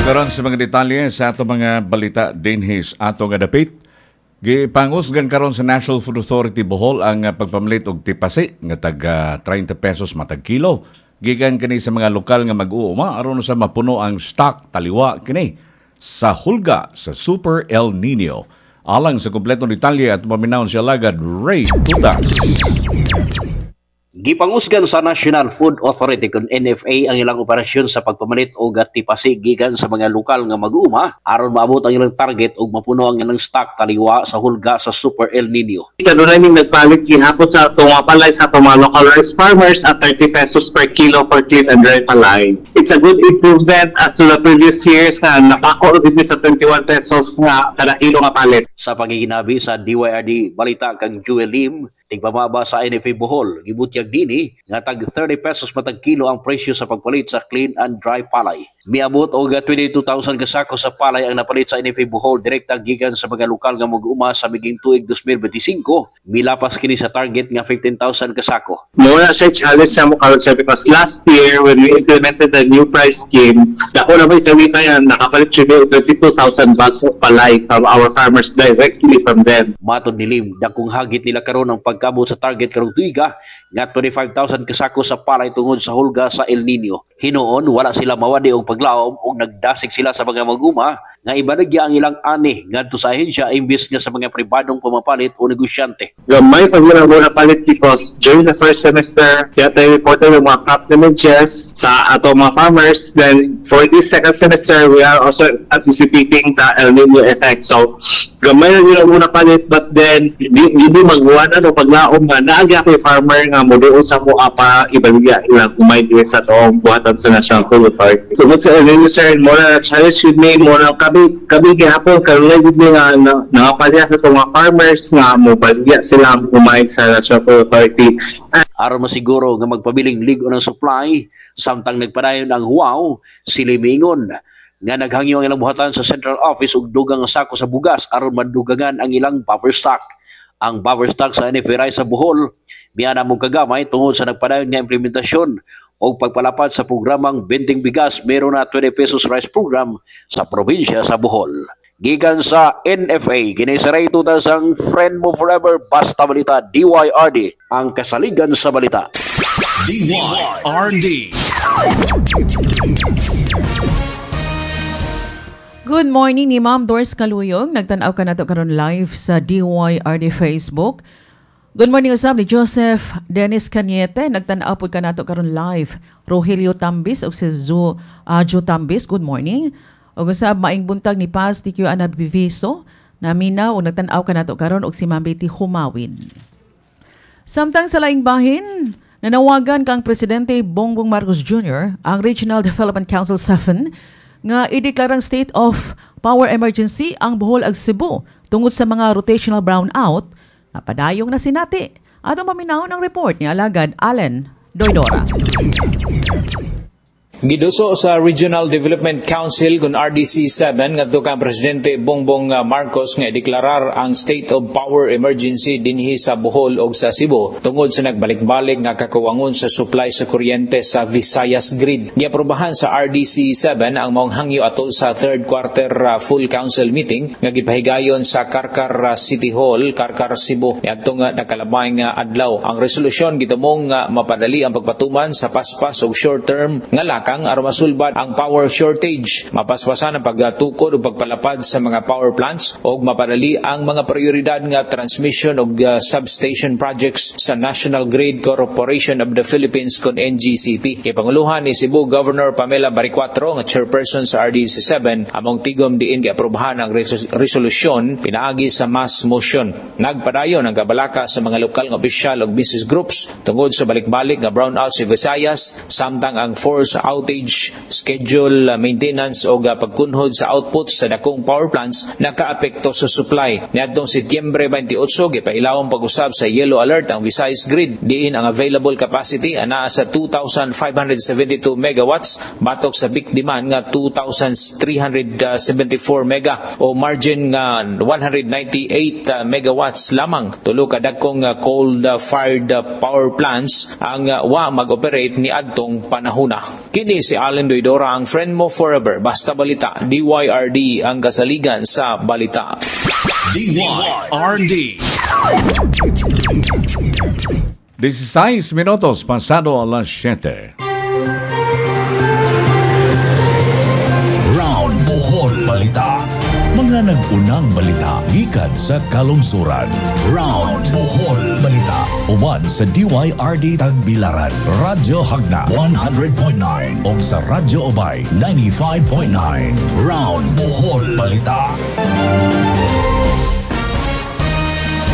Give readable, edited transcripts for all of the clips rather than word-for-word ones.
Karon sa mga detalye sa ato mga balita dinhi sa ato nga dapit. Gipangusgan karon sa National Food Authority Bohol ang pagpamalit og tipasi nga tag 30 pesos matag kilo. Gikan kini sa mga lokal nga mag-uuma aron sa mapuno ang stock taliwa kini sa hulga sa Super El Nino. Alang sa kompletong detalye at paminawon si alagad Ray Tutas. Gipangusgan sa National Food Authority kon NFA ang ilang operasyon sa pagpamalit og tipasi gikan sa mga lokal nga mag-uuma aron maabot ang ilang target ug mapuno ang ilang stock taliwa sa hulga sa Super El Nino. Kanunay ning nagpalit gihapon sa atong mga palay sa atong mga local rice farmers at 30 pesos per kilo for clean and dry palay. It's a good improvement as to the previous years na napako gid ni sa 21 pesos nga kada kilo nga palit. Sa pagiginabi sa DYRD Balita kang Jewel Lim, tigpamaba sa NFA Bohol, gibutyag dinhi nga tag 30 pesos matag kilo ang presyo sa pagpalit sa clean and dry palay. Miabot og 22,000 ka sako sa palay ang napalit sa NFA Bohol direkta gikan sa mga lokal nga mag-uma sa miging tuig 2025. Milapas kini sa target nga 15,000 ka sako. Mao na siya challenge sa mo karon, sir, because last year when we implemented the new price scheme, dako na may kami kaya nakapalit siya 22,000 bags of palay from our farmers directly from them. Matod ni Lim, dakong hagit nila karon ang pagkabot sa target karong tuiga nga 25,000 kasako sa palay tungod sa hulga sa El Nino. Hinuon, wala sila mawadi og paglaom ug nagdasig sila sa mga mag-uma nga ibaligya ang ilang ani ngadto sa ahensya imbis nga sa mga pribadong pamapalit o negosyante. Gamay pag wala mo napalit because during the first semester, kaya tayo reported yung mga crop damages sa ato mga farmers. Then for this second semester, we are also anticipating the El Nino effect. So gamay na nila muna palit, but then di magbuwan ano paglaom nga naagya kay farmer nga mo sa mo para ibaligya ilang umay diri sa atong buhatan sa National Food Authority. Tungod sa El Nino, sir, mo na challenge with me, mo na kami gihapon karon gid mi nga nangapalya sa itong mga farmers nga mo baligya sila ang umay sa National Food Authority. Aron masiguro nga magpabiling lig-on ng supply samtang nagpadayon ang huwaw, sila miingon nga naghangyo ang ilang buhatan sa central office og dugang nga sako sa bugas aron madugangan ang ilang buffer stock. Ang buffer stock sa NFA Rice sa Bohol miana mong kagamay tungod sa nagpadayon nga implementasyon o pagpalapad sa programang Benteng Bigas Meron na 20 pesos rice program sa probinsya sa Bohol. Gikan sa NFA, kini si Ray Tutas, ang friend mo forever, basta balita, DYRD, ang kasaligan sa balita. DYRD. Good morning ni Ma'am Doris Kaluyong. Nagtan-aw ka nato karon live sa DYRD Facebook. Good morning usab ni Joseph Dennis Cañete. Nagtan-aw pud ka nato karon live. Rogelio Tambis ug si Joe Tambis. Good morning. Ug usab maing buntag ni Paz TQ Ana Biviso. Naminaw ug nagtan-aw ka nato karon og si Ma'am Betty Humawin. Samtang sa laing bahin, nanawagan kang Presidente Bongbong Marcos Jr. ang Regional Development Council 7 nga ideklarang state of power emergency ang Bohol ug Cebu tungod sa mga rotational brownout nga padayong na sinati. Atong paminawon ang report ni alagad Allen Doydora. Giduso sa Regional Development Council kun RDC 7 ngadto kang Presidente Bongbong Marcos nga deklarar ang state of power emergency dinhi sa Bohol ug sa Cebu tungod sa nagbalik-balik nga kakuwangon sa supply sa kuryente sa Visayas Grid. Giaprobahan sa RDC 7 ang maong hangyo atol sa third quarter full council meeting nga gipahigayon sa Carcar City Hall, Carcar, Cebu niadtong nakalabay nga adlaw. Ang resolusyon gitumong nga mapadali ang pagpatuman sa paspas ug short term nga lakang aron masulbad ang power shortage, mapaspasan ang pagtukod ug pagpalapad sa mga power plants ug mapadali ang mga prioridad nga transmission ug substation projects sa National Grid Corporation of the Philippines kon NGCP. Kay panguluhan ni Cebu Governor Pamela Baricuatro nga chairperson sa RDC 7 among tigom diin giaprobahan ang resolusyon pinaagi sa mass motion. Nagpadayon ang kabalaka sa mga lokal nga opisyal ug business groups tungod sa balik-balik nga brownout sa Visayas samtang ang force outage, schedule maintenance o pagkunhod sa output sa dakong power plants nakaapekto sa supply. Niadtong Setyembre 28, gipailawang pag-usab sa yellow alert ang Visayas Grid. Diin ang available capacity anaa sa 2,572 megawatts batok sa peak demand nga 2,374 mega o margin nga 198 megawatts lamang. Tulo ka dakong coal fired power plants ang wa mag-operate ni adtong panahona. Kini Kini si Allen Doidora, ang friend mo forever. Basta balita, DYRD ang kasaligan sa balita. DYRD. 16 minutos pasado alas 7. Round Bohol Balita. Mga nag-unang balita gikan sa kalungsuran. Round Bohol Balita. Uban sa DYRD Tagbilaran, Radyo Hagna 100.9 ug sa Radyo Ubay 95.9. Round Bohol Balita.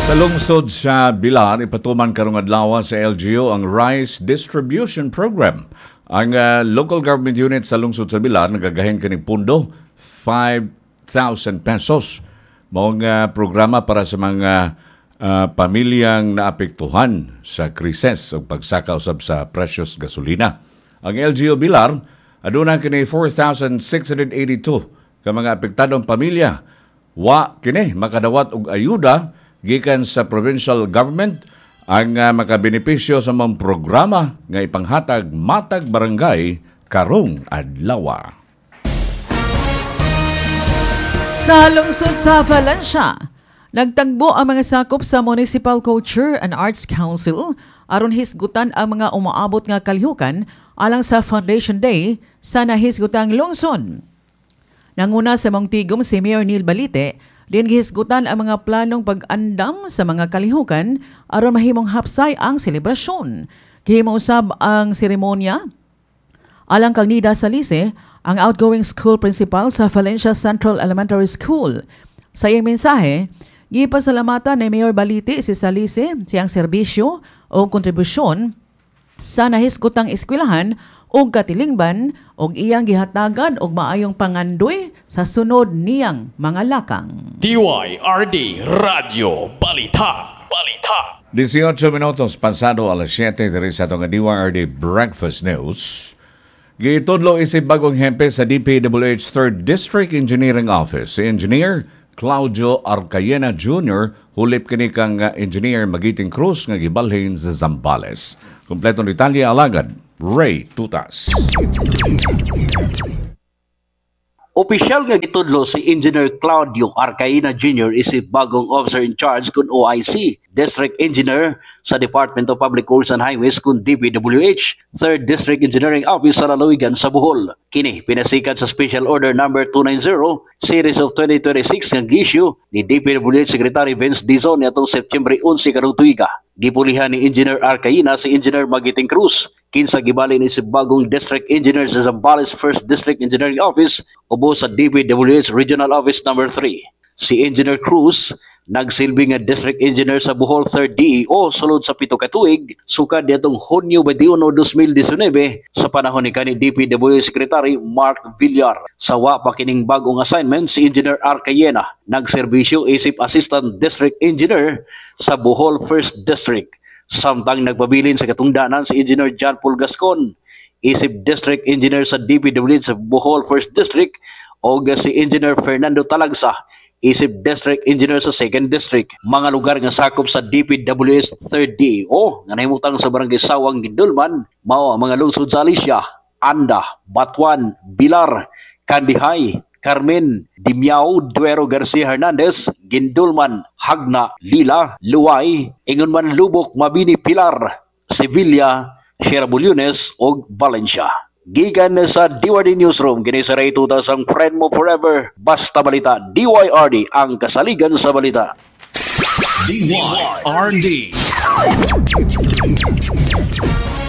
Sa lungsod sa Bilar, ipatuman karong adlaw sa LGU ang Rice Distribution Program. Ang local government unit sa lungsod sa Bilar nagagahin kining pundo 5,000 pesos. Maong programa para sa mga pamilyang naapektuhan sa krisis o pagsaka usab sa presyos gasolina. Ang LGU Bilar aduna kini 4,682 ka mga apektadong pamilya. Wa kini makadawat og ayuda gikan sa provincial government ang makabenepisyo sa mga programa nga ipanghatag matag barangay karong adlaw. Sa lungsod sa Valencia, nagtagbo ang mga sakop sa Municipal Culture and Arts Council aron hisgutan ang mga umaabot nga kalihukan alang sa Foundation Day sa nahisgutang lungsod. Nanguna sa mong tigom si Mayor Neil Balite, din gihisgutan ang mga planong pag-andam sa mga kalihukan aron mahimong hapsay ang selebrasyon. Gihimo usab ang seremonya alang kang Nida Salise, ang outgoing school principal sa Valencia Central Elementary School. Sa iyang mensahe, gipasalamatan ni Mayor Balite si Salise siyang serbisyo o kontribusyon sa nahisgutang eskwelahan og katilingban og iyang gihatagan og maayong pangandoy sa sunod niyang mga lakang. DYRD Radyo Balita. Balita. 18 minutos pasado alas 7 diri sa atong DYRD Breakfast News. Gitudlo isip bagong hempe sa DPWH 3rd District Engineering Office. Si Engineer Claudio Arcayena Jr. hulip kini kang Engineer Magiting Cruz nga gibalhin sa Zambales. Kompletong detalye alagad Ray Tutas. Opisyal nga gitudlo si Engineer Claudio Arcaina Jr. isip bagong officer in charge kun OIC, District Engineer sa Department of Public Works and Highways kun DPWH, 3rd District Engineering Office sa lalawigan sa Bohol. Kini pinasikat sa Special Order Number 290 Series of 2026 nga gi-issue ni DPWH Secretary Vince Dizon niadtong Septyembre 11 karong tuiga. Gipulihan ni Engineer Arcaina si Engineer Magiting Cruz, kinsa gibalin isip bagong District Engineer sa Zambales 1st District Engineering Office ubo sa DPWH Regional Office Number 3. Si Engineer Cruz nagsilbi nga District Engineer sa Bohol 3rd DEO sulod sa 7 ka tuig sukad niadtong Hunyo 21, 2019 sa panahon ni kani DPWH Secretary Mark Villar. Sa wa pa kining bagong assignment si Engineer Arcayena nagserbisyo isip Assistant District Engineer sa Bohol 1st District. Samtang nagpabilin sa katungdanan si Engineer John Paul Gascon isip District Engineer sa DPWH sa Bohol 1st District o si Engineer Fernando Talagsa isip District Engineer sa 2nd District. Mga lugar nga sakop sa DPWH 3rd DEO nga nahimutang sa Barangay Sawang, Gindulman, mao ang mga lungsod sa Alicia, Anda, Batuan, Bilar, Kandihay, Carmen, Dimiao, Duero Garcia Hernandez, Gindulman, Hagna, Lila, Luway, Ingonman Lubok, Mabini, Pilar, Sevilla, Sierra Bullones ug Valencia. Gikan sa DYRD Newsroom, kini sa Ray Tutas ang friend mo forever. Basta balita, DYRD ang kasaligan sa balita. DYRD.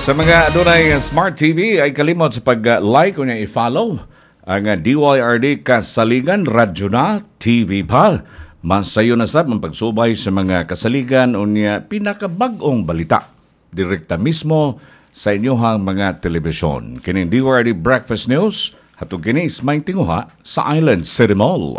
Sa mga adunay Smart TV ay kalimot sa pag-like o niya i-follow ang DYRD Kasaligan Radyo na TV PAL. Masayo na sab ang pagsubay sa mga kasaligan o niya pinakabag-ong balita. Direkta mismo sa inyong mga telebisyon. Kining DYRD Breakfast News, hatog kini may tinguha sa Island City Mall.